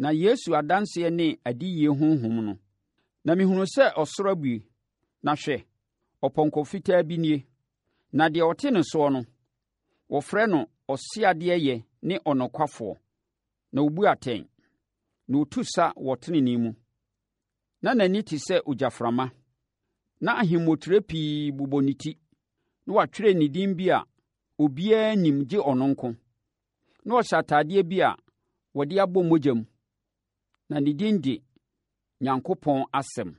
Na Yesu adanseɛ ne adiyie honhom no. Na mehunuu sɛ ɔsoro abue, na hwɛ, ɔpɔnkɔ fitaa bi nie, na deɛ ɔte ne soɔ no, wɔfrɛ no Ɔseadeɛyɛ ne Ɔnokwafoɔ, na ɔbu atɛn, na ɔtu sa wɔ tenenee mu. Na n'ani te sɛ ogyaframa, na ahemmotire pii bobɔ ne ti, na wɔatwerɛ ne din bi a obiara nnim gye ɔno nko. Na ɔhyɛ atadeɛ bi a wɔde abɔ mogya mu, na ne din de Nyankopɔn Asɛm.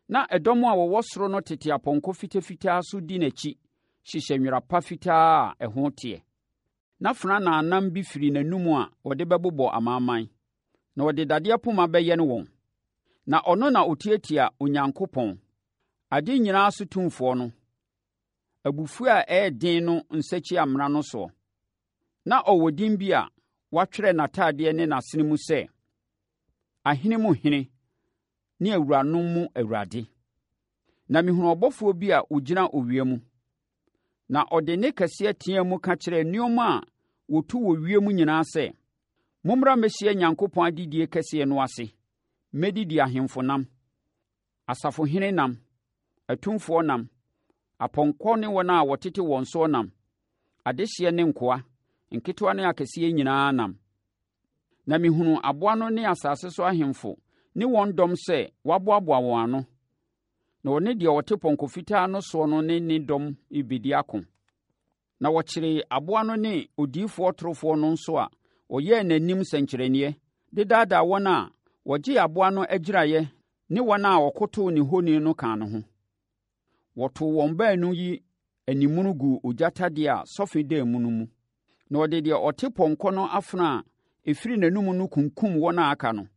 Na ɛdɔm a wɔwɔ soro no tete apɔnkɔ fitafitaa so di n'akyi hyehyɛ nwera pa fitaa a ɛho teɛ. Na fonanaa bi firi n'anom a ɔde bɛbobɔ amanaman, na ɔde dadeɛ poma bɛyɛne wɔn. Na ɔno na ɔtiatia Onyankopɔn, ade nyinaa so tumfoɔ no, abufuo a ɛyɛ den no nsakyiamena no soɔ. Na ɔwɔ din bi a wɔatwerɛ n'atadeɛ ne n'asene mu sɛ, Ahene mu Hene ne awuranom mu Awurade. Na mehunuu ɔbɔfoɔ bi a ɔgyina owia mu, na ɔde nne kɛseɛ teaa mu ka kyerɛɛ nneɛma a wɔtu wɔ wiem nyinaa sɛ, Mommra mmɛhyia Nyankopɔn adedie kɛseɛ no ase mmɛdidi ahemfo nam, asafohene nam, atumfoɔ nam, apɔnkɔ ne wɔn a wɔtete wɔn soɔ nam, adehyeɛ ne nkoa, nketewa ne akɛseɛ nyinaa nam. Na mehunuu aboa no ne asase so ahemfo ne wɔn dɔm sɛ wɔaboaboa wɔn ano, na wɔne deɛ ɔte pɔnkɔ fitaa no soɔ no ne ne dɔm rebɛdi ako. Na wɔkyeree aboa no ne odiyifoɔ torofoɔ no nso a ɔyɛɛ n'anim nsɛnkyerɛnneɛ de daadaa wɔn a wɔgyee aboa no agyiraeɛ ne wɔn a wɔkotoo ne honi no kaa ne ho. Wɔtoo wɔn baanu yi animono guu ogya tadeɛ a sɔfe da mu no mu. Na ɔde deɛ ɔte pɔnkɔ no afono a ɛfiri n'anom no kunkum wɔn a aka no.